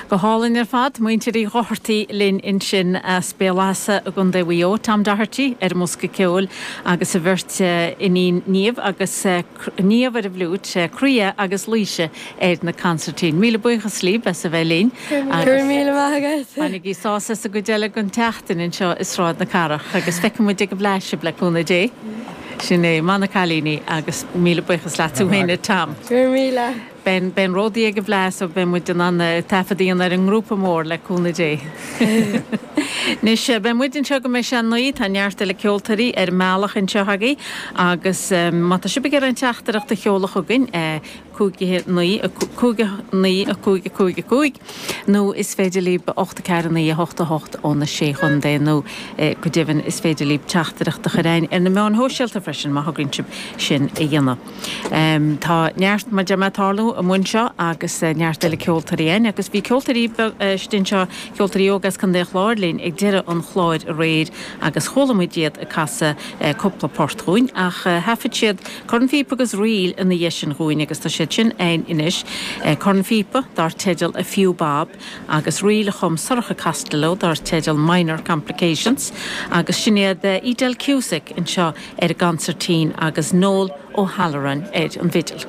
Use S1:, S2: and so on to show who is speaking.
S1: Go hálainn ar fad. Muintir Uí Dhochartaigh linn ansin as Béal Easa i gContae Mhaigh Eo. Tom Doherty ar an mbosca ceoil agus a bheirt iníon Niamh agus Niamh ar an bhfliúit, Croía agus Laoise ar na consairtín. Míle buíochas libh as a bheith linn
S2: agus Go raibh míle maith agat.
S1: bainigí sásamh as an gcuid eile den tseachtain anseo i Sráid na Cathrach agus feicfidh muid ag an bhFleadh sibh le cúnamh Dé. Sin é, maith na cailíní agus míle buíochas leat tú féin a Tom.
S2: Go raibh míle.
S1: Beidh an ródaí ag an bhFleadh so beidh muid in ann taifead a dhéanamh ar an ngrúpa mór le cúnamh Dé. Anois, beidh muid anseo go mbeidh sé 9, tá neart eile ceoltóirí ar an mbealach anseo agaibh agus má tá sibh ag iarraidh aon teachtaireacht a sheoladh chugainn, 5 9 5 9 5 5 5 nó is féidir libh 8 4 9 8 8 ó na Sé Chontae nó go deimhin is féidir libh teachtaireacht a chur againn ar na meáin shóisialta freisin má thograíonn sibh sin a dhéanamh. Tá neart, mar a deir mé, ag tarlú amuigh anseo agus neart eile ceoltóirí againn agus bhí ceoltóirí istigh anseo, ceoltóirí óga as Contae an Chláir linn ag deireadh an chláir aréir agus chuala muid iad ag casadh cúpla port dhúinn ach thaifead siad cornphíopa agus ríl ina dhiaidh sin dhúinn agus tá siad sin againn anois, cornphíopa dar teideal A Few Bob agus ríl a chum Sorcha Costello dar teideal Minor Complications agus sin iad Edel Cusack anseo ar an gconsairtín agus Noel O'Halloran ar an bhfidil.